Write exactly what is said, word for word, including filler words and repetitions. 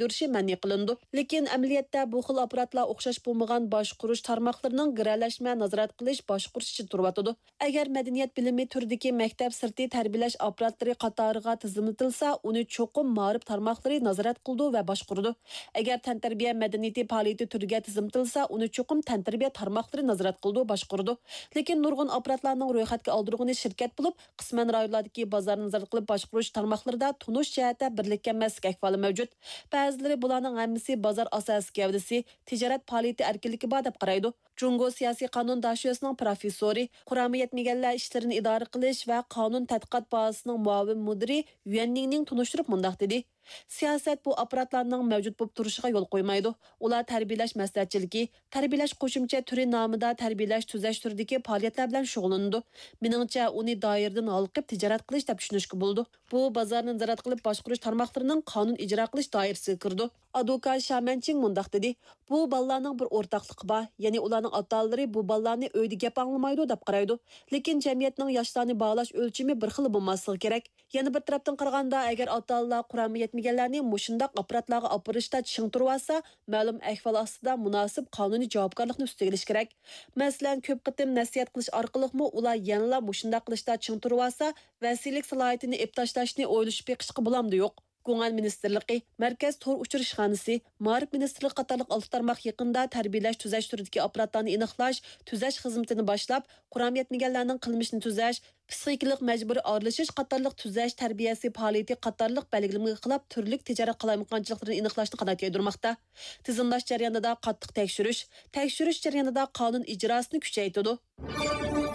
يۈرۈشى مەنئى قىلىنىدۇ. لېكىن ئەمەلىيەتتە بۇ خىل ئاپپاراتلار ئوخشاش بولمىغان باشقۇرۇش تارماقلىرىنىڭ گىرەلەشمە نازارەت قىلىش، باشقۇرۇش ئىچىدە تۇرۇۋاتىدۇ. ئەگەر مەدەنىيەت بىلىمى تۈرىدىكى مەكتەپ سىرتى تەربىيەلەش ئاپپاراتلىرى قاتارىغا تىزىملىتىلسا، ئۇنى چوقۇم مائارىپ تارماقلىرى نازارەت قىلىدۇ ۋە باشقۇرىدۇ. ئەگەر تەنتەربىيە مەدەنىيىتى پائالىيىتى تۈرىگە تىزىملىتىلسا، ئۇنى چوقۇم تەنتەربىيە تارماقلىرى نازارەت قىلىدۇ، باشقۇرىدۇ. لېكىن نۇرغۇن ئاپپاراتلارنىڭ رويخەتكە ئالدۇرغىنى شىركەت بولۇپ، قىسمەن رايونلاردىكى بازارنى نازارەت قىلىپ باشقۇرۇش تارماقلىرىدا تونۇش جەھەتتە بىرلىككە ئەمەسلىك ئەھۋالى مەۋجۇت. بەزىلىرى بۇلارنىڭ ھەممىسى بازار ئاساسىي گەۋدىسى، تىجارەت پائالىيىتى ئەركىنلىكى بار دەپ قارايدۇ. جۇڭگو سىياسىي قانۇن داشۆسىنىڭ پروفېسسورى، قۇرامى يەتمىگەنلەر ئىشلىرىنى ئىدارە قىلىش ۋە قانۇن تەتقىقات بازىسىنىڭ مۇئاۋىن مۇدىرى يۈەن نىڭنىڭ تونۇشتۇرۇپ مۇنداق دېدى: سىياسەت بۇ ئاپپاراتلارنىڭ مەۋجۇت بولۇپ تۇرۇشىغا يول قويمايدۇ. ئۇلار تەربىيەلەش مەسلىھەتچىلىكى، تەربىيەلەش قوشۇمچە تۈرى نامىدا تەربىيەلەش تۈزەش تۈرىدىكى پائالىيەتلەر بىلەن شۇغۇللىنىدۇ. مېنىڭچە، ئۇنى دائىرىدىن ھالقىپ تىجارەت قىلىش دەپ چۈشىنىشكە بولىدۇ. بۇ بازارنى نازارەت قىلىپ باشقۇرۇش تارماقلىرىنىڭ قانۇن ئىجرا قىلىش دائىرىسىگە كىرىدۇ. ئادۋوكات شا مەنچىڭ مۇنداق دېدى: بۇ بالىلارنىڭ بىر ئورتاقلىقى بار، يەنى ئۇلارنىڭ ئاتا-ئانىلىرى بۇ بالىلارنى ئۆيدە گەپ ئاڭلىمايدۇ دەپ قارايدۇ. لېكىن جەمئىيەتنىڭ ياشلارنى باھالاش ئۆلچىمى بىر خىل بولماسلىقى كېرەك. يەنە بىر تەرەپتىن قارىغاندا، ئەگەر ئاتا-ئانىلار قۇرامى يەتمىگەنلەرنى مۇشۇنداق ئاپپاراتلارغا ئاپىرىشتا چىڭ تۇرۇۋالسا، مەلۇم ئەھۋال ئاستىدا مۇناسىپ قانۇنىي جاۋابكارلىقنى ئۈستىگە ئېلىشى كېرەك. مەسىلەن، كۆپ قېتىم نەسىھەت قىلىش ئارقىلىقمۇ ئۇلار يەنىلا مۇشۇنداق قىلىشتا چىڭ تۇرۇۋالسا، ۋەسىيلىك سالاھىيىتىنى ئېلىپ تاشلاشنى ئويلىشىپ بېقىشقا بولامدۇ يوق؟ گۇڭئەن مىنىستىرلىقى مەركەز تور ئۇچۇر ئىشخانىسى، مائارىپ مىنىستىرلىقى قاتارلىق ئالتە تارماق يېقىندا تەربىيەلەش تۈزەش تۈرىدىكى ئاپپاراتلارنى ئېنىقلاش، تۈزەش خىزمىتىنى باشلاپ، قۇرامى يەتمىگەنلەرنىڭ قىلمىشىنى تۈزەش، پىسخىكىلىق مەجبۇرىي ئارىلىشىش قاتارلىق تۈزەش تەربىيەسى پائالىيىتى قاتارلىق بەلگىلىمىگە خىلاپ تۈرلۈك تىجارەت قالايمىقانچىلىقلىرىنى ئېنىقلاشنى قانات يايدۇرماقتا. تىزىملاش جەريانىدا قاتتىق تەكشۈرۈش، تەكشۈرۈش جەريانىدا قانۇن ئىجراسىنى كۈچەيتىدۇ.